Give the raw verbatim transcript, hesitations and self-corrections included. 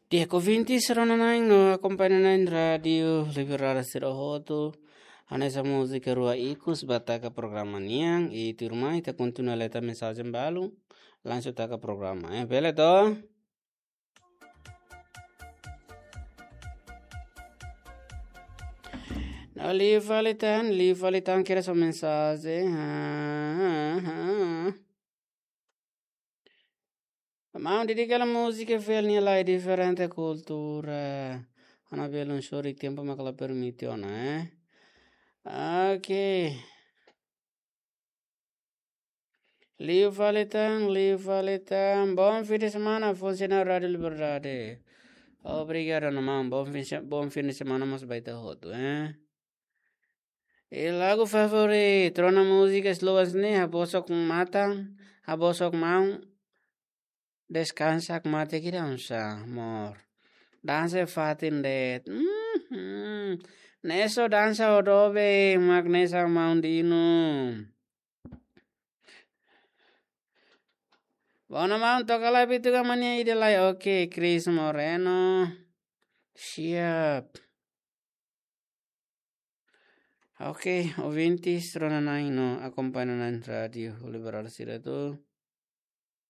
Di'ak ouvintes, rona-na'in no akompaña na'in Rádiu Liberdade sira hotu. Hanesan múzika rua ikus ba taka programa nian, i tuirmai ita kontinua leta mensajen balu, langsung taka programa. Eh, bele to? No, liu fali tan, liu fali tan, kira so mensajen. Ah, ah, ah. Maun, dedika hela múzika fiel nia lai diferente kultura. Ona belun sori tempu mak la permite ona, eh. Ok. Liu fali tan, liu fali tan. Bom fim de semana, funsionáriu Rádiu Liberdade. Obrigadu, maun. Bom fim, bom fim de semana mós ba ita hotu, eh. I lagu favorit, rona múzika slow hanesan ne'e, habosok matan, habosok maun, deskansa mate kira unsa, amor. Dansa fatin de'it. Mhm. Ne'e só dansa ho doben, mak hanesan maun Dino. Bona maun, toka lai bitu ka mania ida lai. Ok, Chris Moreno. Siap. Ok, ouvintes, rona-na'in no akompaña na'in Rádiu Liberdade sira hotu.